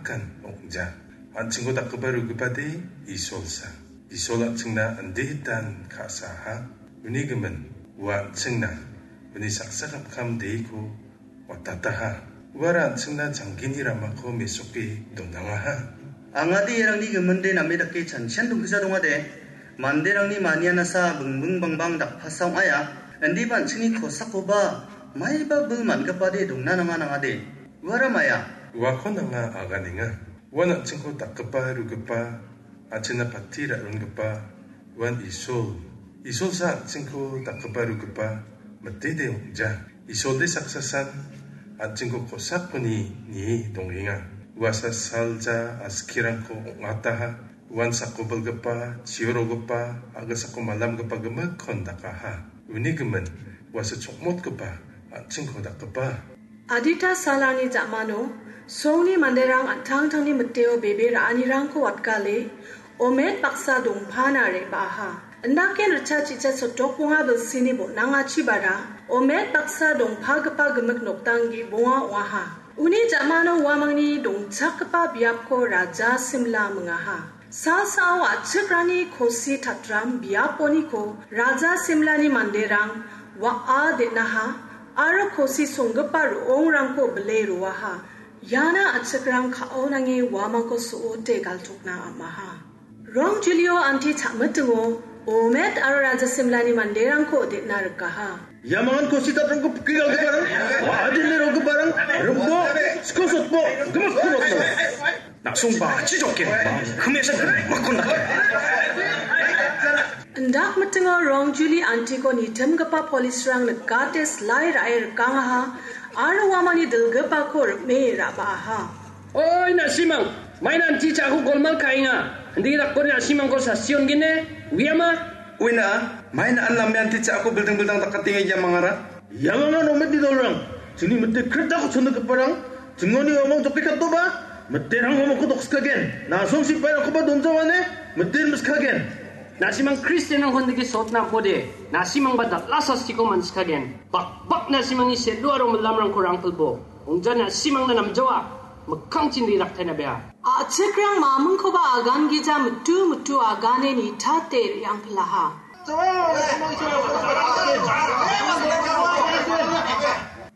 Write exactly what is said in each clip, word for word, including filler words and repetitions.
kan ong·ja. An·chingko dakgipa rugipade Isolsa. Isol an·chingna inditan ka·saha. Uni gimin, ua an·chingna uni saksa kapkam deko watataha. Uara an·chingna janggini ramako mesoke donangaha. Angade iarangni giminde name dake chanchian dongkisa dongade, manderangni manianasa bingbing bangbang dakpasa ong·aia. Indiba an·chingni kosakoba maiba bil man·gipade dongna nanga nangade. Uara maia. Uako nanga aganenga. Uan an·chingko dakgipa, rugipa, an·chingna pati ra·rongipa, uan Isol. Isolsa an·chingko dakgipa, rugipa, mitede ong·ja. Isolde saksasan an·chingko kosakoni nie dongenga. Uasa salja askirangko ong·ataha. Uan sakobilgipa, chiorogipa, a·gisako malamgipa gimikkon dakaha. Uni gimin, uasa chongmotgipa, an·chingko dakgipa. Adita salani ja·mano, songni manderang an·tangtangni miteo bebe ra·anirangko watgale, omet baksa dongpana re·baaha. Indaken ritchak chicha sotokbonga bilsini bon·angachibara, omet baksa dongpagipa gimik nokdang ge·bonga ong·aha. Uni ja·mano uamangni dongchakgipa biapko Raja Simla mingaha. Sa·sao a·chikrangni kosi tatram biaponiko Raja Simlani manderang wa·a den·aha aro kosi songgipa ro·ongrangko bile roaha. Iana a·chikrang ka·o nange uamangko so·ote galchokna am·aha. Rong Julio anti cha·mitingo Omet aro Raja Simlani manderangko den·a rikaha. Ia mangan kosi tatrangko pike galgiparang, wa·a den·e rogiparang, rimbo, skosotbo, gimik kunotbo. Na·songba achi jokken, himesa gimikkon dake. Indak mitingo Rong Juli antiko nitimgipa polisrang nikate silai ra·e rikangaha aro uamangni dilgipako rim·e ra·baaha. Oi, na·simang, maina anti cha·ako golmal ka·enga. Indake dakode na·simangko sasti on·gene, uiama? Uina, maina an name anti cha·ako bilding-bildang dakatenga ia mangara? Ia mangan ometni dolrang, chingni mite kritako chongiparang, chingoni uamang jokke katoba, miterang uamangko dokskagen, na·song sipairangkoba donjawane, mite rimskagen. Na·simang Kristianrangko indake sotna am·ode, na·simangba dal·a sastiko man·skagen. Bakbak na·simangni sel·o aro milamrangko rangpilbo. Ong·ja na·simangna namjawa, mikkangchin riraktaina bea. A·chikrang mamingkoba agangija mitu mitu agane nitate re·angpilaha.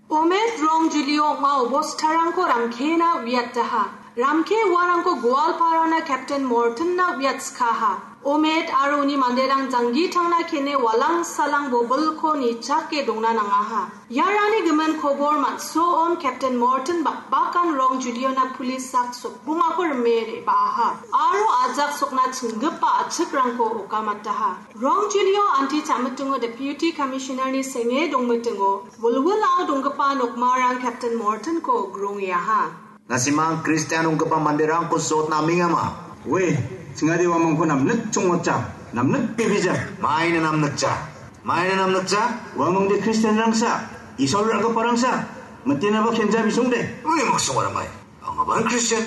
Omet Rong Julio ong·a obostarangko Ramkena uiataha. Ramke uarangko Goalparana Captain Mortonna uiatskaha. Omet aro uni manderang janggi tangna kene walang salang bobilko nichake dongna nangaha. Iarangni gimin kobor man·soon Captain Morton bakbakan Rong Juliona pulis sak sokbongako rime re·baaha aro ajak sokna chinggipa a·chikrangko okamataha. Rong Julio anti cha·mitingo Deputy Commissionerni senge dongmitingo wilwilao donggipa nokmarang Captain Mortonko grongeaha. Na·simang Kristian ong·gipa manderangko sotna amengama. Oe, chingade uamangko namnik chongmotja, namnik bebija. Maina namnikja, maina namnikja. Uamangde Kristianrangsa, Isol ra·giparangsa, mitenaba kenja bisongde. Uni maksong ora mai. Angaba Kristian.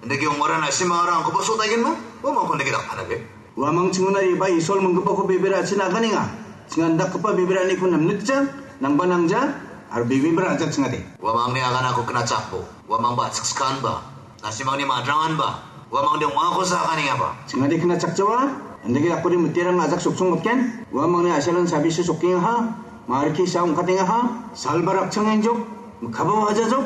Indake ong·ora na·simangara angkoba sotaigenma? Uamangko indake dakpanabe. Uamang chingona iba Isol minggipako bebera achina aganenga. Chingan dakgipa bebera aniko namnikja, nangba nangja, aro bebebera ajak chingade. Uamangni aganako knachakbo, uamangba achikskanba, na·simangni madranganba, uamangde ong·akosa aganengaba. Chingade knachakjawa, indake dakode miterang ajak soksong mitgen, uamangni a·salan sabise sokkengaha, marki sa ong·katengaha, salba rakchangenjok, mikkaba wajajok,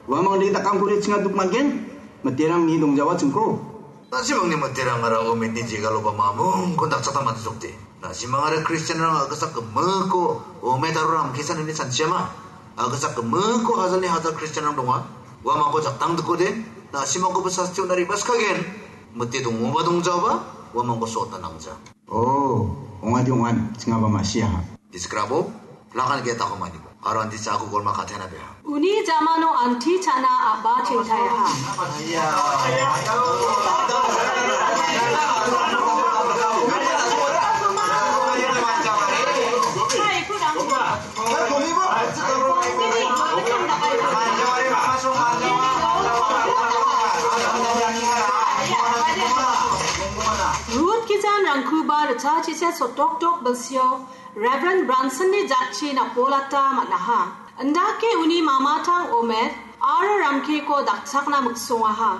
uamangde dakangkode chinga duk man·gen, miterang ni dongjawa chingko. Na·simangni miterangara Ometni jegaloba mamungkon dakchakna man·jokde. Na·simangara Kristianrang a·gisak gimikko Omet aro Ramkesan ine chanchiama. A·gisak gimikko hajalni hajal Kristianrang donga. Uamangko jaktangdikode, na·simangkoba sasti on·na re·baskagen. Mite dongoba dongjaoba, uamangko sotna nangja. O, ong·adi ong·an, chingaba ma·siaha. Diskrabo, lakan ge·etako manibo. Aro anti cha·ako golma katena beha. Uni jamano anti cha·na a·ba chingtaiaha. Rut gijan rangkuba ritchachisa sotokdok bilsio Reverend Bransonni jatchi napolata man·aha. Indake uni mamatang Omer aro Ramkeko dakchakna miksongaha.